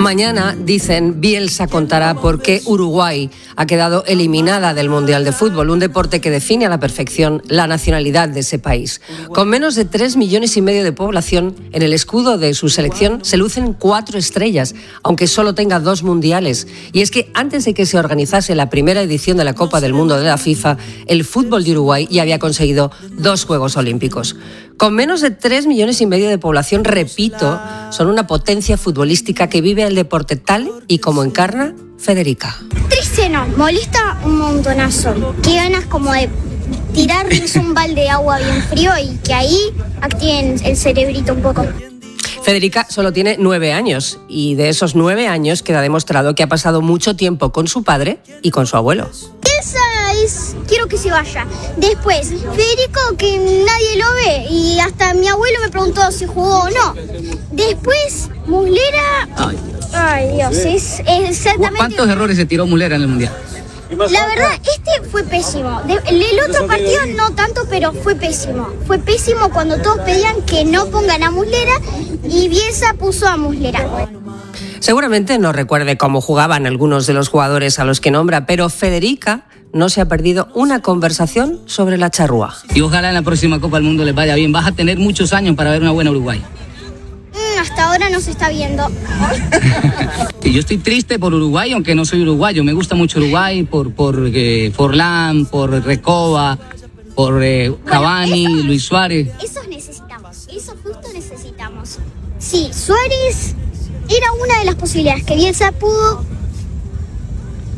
Mañana, dicen, Bielsa contará por qué Uruguay ha quedado eliminada del Mundial de Fútbol, un deporte que define a la perfección la nacionalidad de ese país. Con menos de 3,5 millones de población, en el escudo de su selección se lucen 4 estrellas, aunque solo tenga 2 mundiales. Y es que antes de que se organizase la primera edición de la Copa del Mundo de la FIFA, el fútbol de Uruguay ya había conseguido 2 Juegos Olímpicos. Con menos de 3,5 millones de población, repito, son una potencia futbolística que vive el deporte tal y como encarna Federica. Triste no, molesta un montonazo. Qué ganas como de tirarles un balde de agua bien frío y que ahí activen el cerebrito un poco. Federica solo tiene 9 años y de esos 9 años queda demostrado que ha pasado mucho tiempo con su padre y con su abuelo. Quiero que se vaya. Después, Federico, que nadie lo ve y hasta mi abuelo me preguntó si jugó o no. Después, Muslera. Ay, Dios, es exactamente. ¿Cuántos errores se tiró Muslera en el Mundial? La verdad, este fue pésimo. El otro partido no tanto, pero fue pésimo. Fue pésimo cuando todos pedían que no pongan a Muslera y Bielsa puso a Muslera. Seguramente no recuerde cómo jugaban algunos de los jugadores a los que nombra, pero Federica no se ha perdido una conversación sobre la charrúa. Y ojalá en la próxima Copa del Mundo les vaya bien. Vas a tener muchos años para ver una buena Uruguay. Hasta ahora no se está viendo. Y yo estoy triste por Uruguay, aunque no soy uruguayo. Me gusta mucho Uruguay por Forlán, por Recoba, por Cavani, Luis Suárez. Eso necesitamos, eso justo necesitamos. Sí, Suárez era una de las posibilidades que Bielsa pudo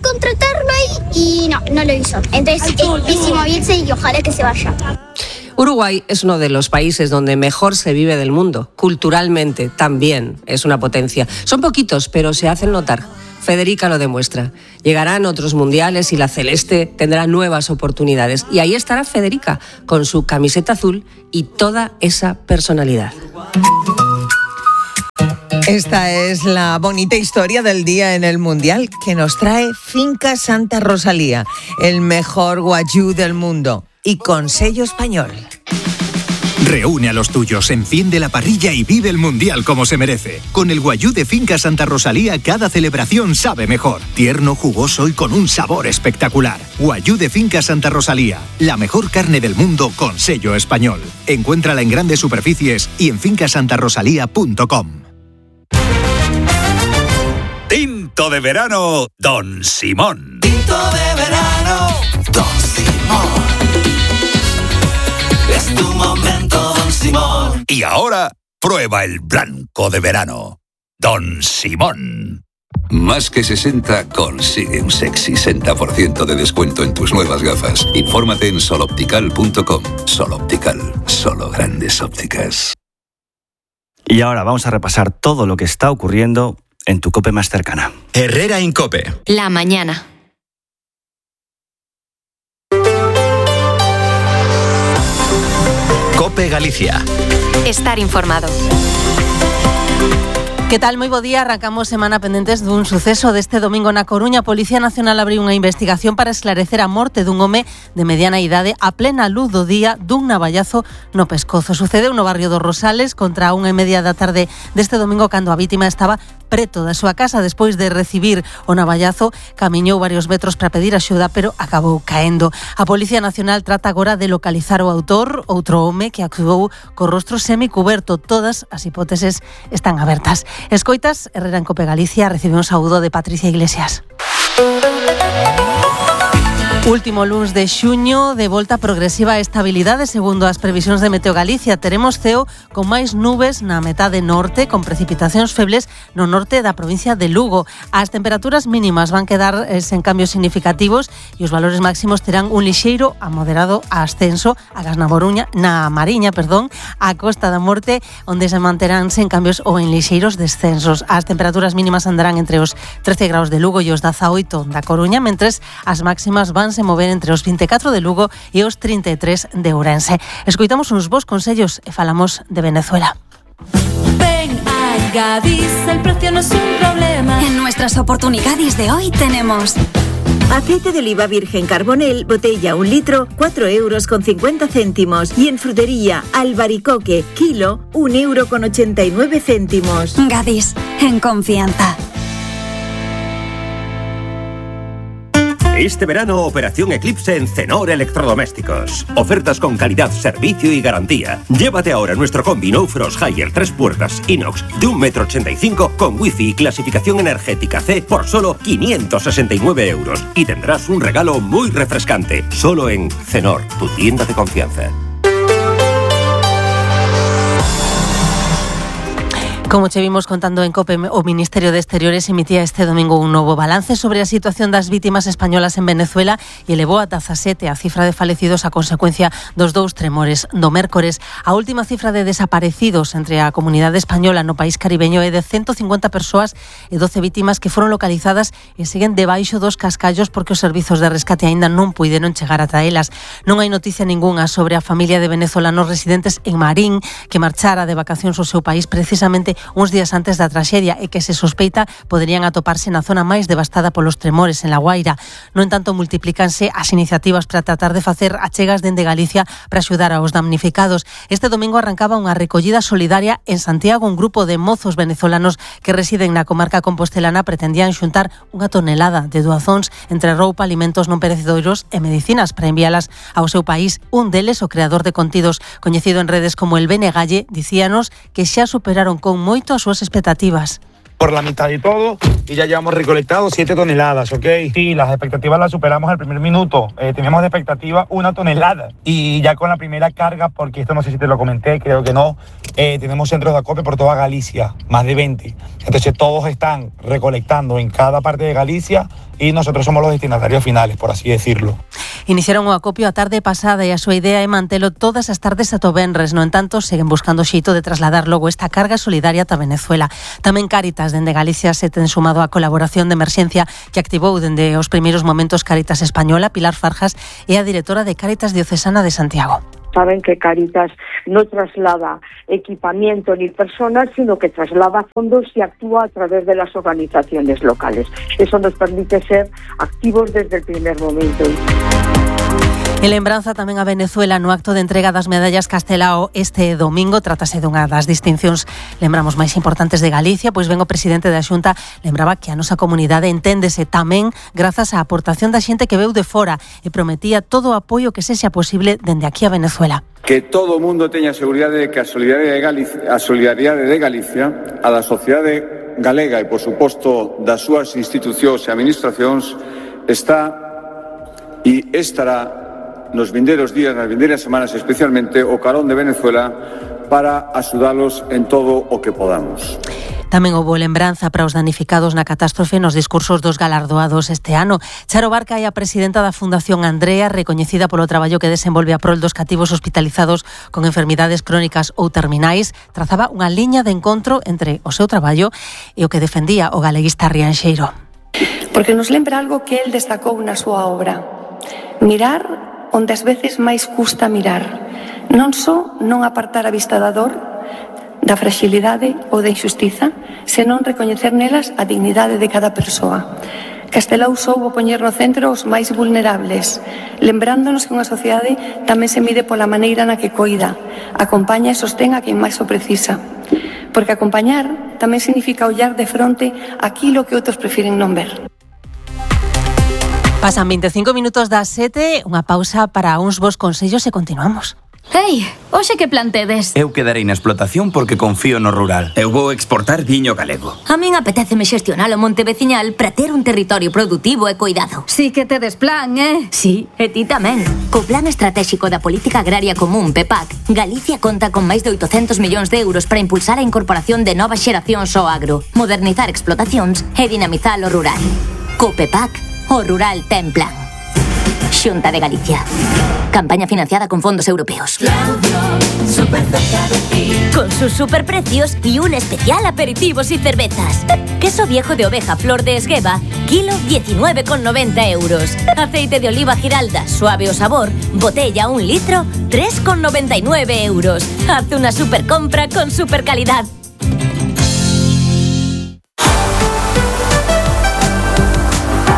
contratarlo ahí y no lo hizo. Entonces es pésimo Bielsa y ojalá que se vaya. Uruguay es uno de los países donde mejor se vive del mundo. Culturalmente también es una potencia. Son poquitos, pero se hacen notar. Federica lo demuestra. Llegarán otros mundiales y la celeste tendrá nuevas oportunidades. Y ahí estará Federica, con su camiseta azul y toda esa personalidad. Esta es la bonita historia del día en el Mundial que nos trae Finca Santa Rosalía, el mejor guayú del mundo y con sello español. Reúne a los tuyos, enciende la parrilla y vive el Mundial como se merece. Con el guayú de Finca Santa Rosalía, cada celebración sabe mejor. Tierno, jugoso y con un sabor espectacular. Guayú de Finca Santa Rosalía, la mejor carne del mundo con sello español. Encuéntrala en grandes superficies y en fincasantarosalía.com. Tinto de verano, Don Simón. Tinto de verano, Don Simón. Es tu momento, Don Simón. Y ahora, prueba el blanco de verano, Don Simón. Más que 60 consigue un sexy 60% de descuento en tus nuevas gafas. Infórmate en soloptical.com. Soloptical, solo grandes ópticas. Y ahora vamos a repasar todo lo que está ocurriendo en tu COPE más cercana. Herrera Incope. La mañana. COPE Galicia. Estar informado. Que tal? Moi bo día. Arrancamos semana pendentes dun suceso deste domingo na Coruña. A Policía Nacional abriu unha investigación para esclarecer a morte dun home de mediana idade a plena luz do día dun navallazo no pescozo. Sucedeu no barrio dos Rosales contra a 1:30 da tarde deste domingo, cando a vítima estaba preto da súa casa. Despois de recibir o navallazo, camiñou varios metros para pedir axuda, pero acabou caendo. A Policía Nacional trata agora de localizar o autor, outro home que actuou co rostro semicuberto. Todas as hipóteses están abertas. Escoitas, Herrera en Cope Galicia, recibe un saúdo de Patricia Iglesias. Último luns de xuño, de volta progresiva a estabilidade segundo as previsións de Meteo Galicia. Teremos ceo con máis nubes na metade norte, con precipitacións febles no norte da provincia de Lugo. As temperaturas mínimas van quedar sen cambios significativos e os valores máximos terán un lixeiro a moderado ascenso agas na Mariña, a Costa da Morte, onde se manterán sen cambios ou en lixeiros descensos. As temperaturas mínimas andarán entre os 13 graus de Lugo e os 18 da Coruña, mentres as máximas van se mover entre os 24 de Lugo e os 33 de Ourense. Escoitamos uns bons consellos e falamos de Venezuela. Ven a Gadis, el precio no es un problema. En nuestras oportunidades de hoy tenemos aceite de oliva virgen Carbonell, botella 1 litro, 4,50 €. Y en frutería, albaricoque, kilo, 1,89 €. Gadis, en confianza. Este verano, Operación Eclipse en Cenor Electrodomésticos. Ofertas con calidad, servicio y garantía. Llévate ahora nuestro combi No Frost Higher 3 puertas inox de 1,85 m con wifi y clasificación energética C por solo 569 euros. Y tendrás un regalo muy refrescante. Solo en Cenor, tu tienda de confianza. Como che vimos contando en COPE, o Ministerio de Exteriores emitía este domingo un novo balance sobre a situación das vítimas españolas en Venezuela e elevou a 17 a cifra de falecidos a consecuencia dos 2 tremores do mércores. A última cifra de desaparecidos entre a comunidade española no país caribeño é de 150 persoas e 12 vítimas que foron localizadas e seguen debaixo dos cascallos porque os servizos de rescate aínda non puideron chegar ata elas. Non hai noticia ningunha sobre a familia de venezolanos residentes en Marín que marchara de vacacións ao seu país precisamente uns días antes da traxedia e que se sospeita poderían atoparse na zona máis devastada polos tremores en La Guaira. No entanto, multiplícanse as iniciativas para tratar de facer achegas dende Galicia para axudar aos damnificados. Este domingo arrancaba unha recollida solidaria en Santiago. Un grupo de mozos venezolanos que residen na comarca compostelana pretendían xuntar 1 tonelada de doazóns entre roupa, alimentos non perecedoiros e medicinas para envialas ao seu país. Un deles, o creador de contidos coñecido en redes como el Benegalle, dicíanos que xa superaron con moito as súas expectativas. Por la mitad de todo y ya llevamos recolectado 7 toneladas, ¿ok? Sí, las expectativas las superamos al primer minuto. Teníamos de expectativa 1 tonelada y ya con la primera carga, porque esto no sé si te lo comenté, creo que no, tenemos centros de acopio por toda Galicia, más de 20. Entonces todos están recolectando en cada parte de Galicia y nosotros somos los destinatarios finales, por así decirlo. Iniciaron o acopio a tarde pasada e a súa idea é mantelo todas as tardes ata o venres. No entanto, seguen buscando xeito de trasladar logo esta carga solidaria ata Venezuela. Tamén Cáritas dende Galicia se ten sumado á colaboración de emerxencia que activou dende os primeiros momentos Cáritas Española. Pilar Farjas é a directora de Cáritas Diocesana de Santiago. Saben que Cáritas no traslada equipamiento ni personas, sino que traslada fondos y actúa a través de las organizaciones locales. Eso nos permite ser activos desde el primer momento. En lembranza tamén a Venezuela no acto de entrega das medallas Castelao este domingo. Trátase dunha das distincións, lembramos, máis importantes de Galicia, pois ben o presidente da Xunta lembraba que a nosa comunidade enténdese tamén grazas á aportación da xente que veu de fora e prometía todo o apoio que sexa posible dende aquí a Venezuela. Que todo o mundo teña seguridade de que a solidaridade de Galicia, a da sociedade galega e, por suposto, das súas institucións e administracións está e estará nos vindeiros días, nas vindeiras semanas especialmente, o carón de Venezuela para axudalos en todo o que podamos. Tamén houbo lembranza para os danificados na catástrofe nos discursos dos galardoados este ano. Charo Barca é a presidenta da Fundación Andrea, recoñecida polo traballo que desenvolve a prol dos cativos hospitalizados con enfermidades crónicas ou terminais. Trazaba unha liña de encontro entre o seu traballo e o que defendía o galeguista Rianxeiro. Porque nos lembra algo que el destacou na súa obra. Mirar onde ás veces máis custa mirar, non só non apartar a vista da dor, da fragilidade ou da injustiza, senón recoñecer nelas a dignidade de cada persoa. Castelao soubo poñer no centro os máis vulnerables, lembrándonos que unha sociedade tamén se mide pola maneira na que coida, acompaña e sostén a quen máis o precisa. Porque acompañar tamén significa ollar de fronte aquilo que outros prefiren non ver. Pasan 25 minutos das 7, unha pausa para uns bons consellos e continuamos. Ei, hoxe que plan tedes? Eu quedarei na explotación porque confío no rural. Eu vou exportar viño galego. A min apetéceme xestionar o monte veciñal para ter un territorio productivo e cuidado. Sí que tedes plan, Sí, e ti tamén. Co Plan Estratégico da Política Agraria Común, PEPAC, Galicia conta con máis de 800 millóns de euros para impulsar a incorporación de novas xeracións ao agro, modernizar explotacións e dinamizar o rural. Co PEPAC, o rural ten plan. Xunta de Galicia. Campaña financiada con fondos europeos. Con sus superprecios y un especial aperitivos y cervezas. Queso viejo de oveja Flor de Esgueva, kilo 19,90 euros. Aceite de oliva Giralda, suave o sabor, botella 1 litro, 3,99 euros. Haz una super compra con super calidad.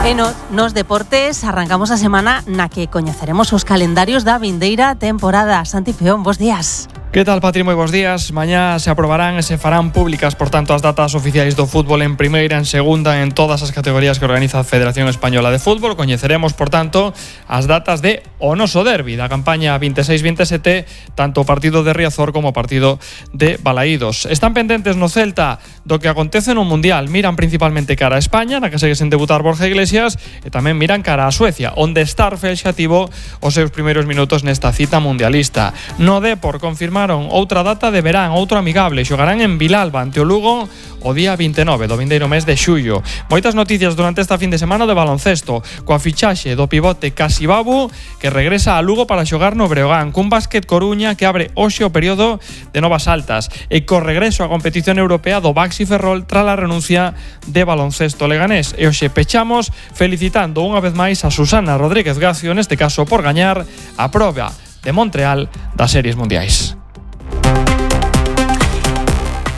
E nos deportes arrancamos a semana na que coñeceremos os calendarios da vindeira temporada. Santi Peón, bos días. Que tal, Patri? Moi bons días. Mañá se aprobarán e se farán públicas, por tanto, as datas oficiais do fútbol en primeira, en segunda, en todas as categorías que organiza a Federación Española de Fútbol. Coñeceremos, por tanto, as datas de o noso derbi da campaña 26-27, tanto o partido de Riazor como o partido de Balaídos. Están pendentes no Celta do que acontece no Mundial. Miran principalmente cara a España, na que segue sen debutar Borja Iglesias, e tamén miran cara a Suecia, onde Starfelt xa tivo os seus primeiros minutos nesta cita mundialista. No Depor confirmaron outra data de verán, outro amigable. Xogarán en Vilalba ante o Lugo o día 29 do vindeiro mes de xullo. Moitas noticias durante esta fin de semana de baloncesto, coa fichaxe do pivote Casibabu, que regresa a Lugo para xogar no Breogán, cun Básquet Coruña que abre hoxe o período de novas altas, e co regreso á competición europea do Baxi Ferrol tras a renuncia de baloncesto leganés. E hoxe pechamos felicitando unha vez máis a Susana Rodríguez Gacio, neste caso por gañar a proba de Montreal das series mundiais.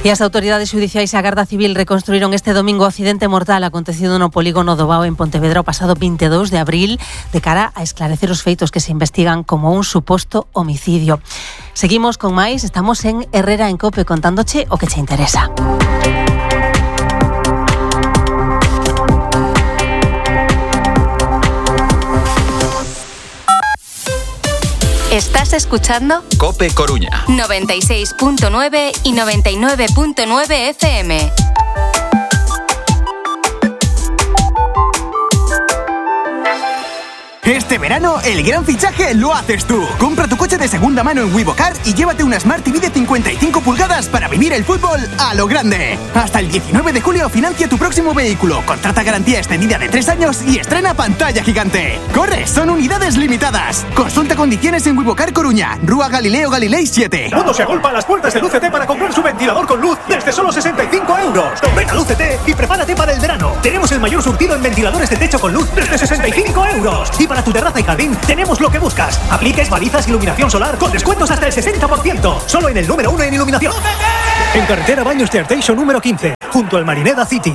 E as autoridades xudiciais e a Garda Civil reconstruíron este domingo o accidente mortal acontecido no polígono do Bao en Pontevedra o pasado 22 de abril, de cara a esclarecer os feitos que se investigan como un suposto homicidio. Seguimos con máis, estamos en Herrera en Cope contándoche o que che interesa. Estás escuchando Cope Coruña 96.9 y 99.9 FM. Este verano, el gran fichaje lo haces tú. Compra tu coche de segunda mano en Wivocar y llévate una Smart TV de 55 pulgadas para vivir el fútbol a lo grande. Hasta el 19 de julio financia tu próximo vehículo, contrata garantía extendida de 3 años y estrena pantalla gigante. ¡Corre! Son unidades limitadas. Consulta condiciones en Wivocar Coruña, Rúa Galileo Galilei 7. El mundo se agolpa a las puertas de Luz-ET para comprar su ventilador con luz desde solo 65 euros. Ven a Luz-ET y prepárate para el verano. Tenemos el mayor surtido en ventiladores de techo con luz desde 65 euros. Y para tu terraza y jardín tenemos lo que buscas. Apliques, balizas, iluminación solar con descuentos hasta el 60%. Solo en el número 1 en iluminación. En carretera Baños de Arteixo número 15, junto al Marineda City.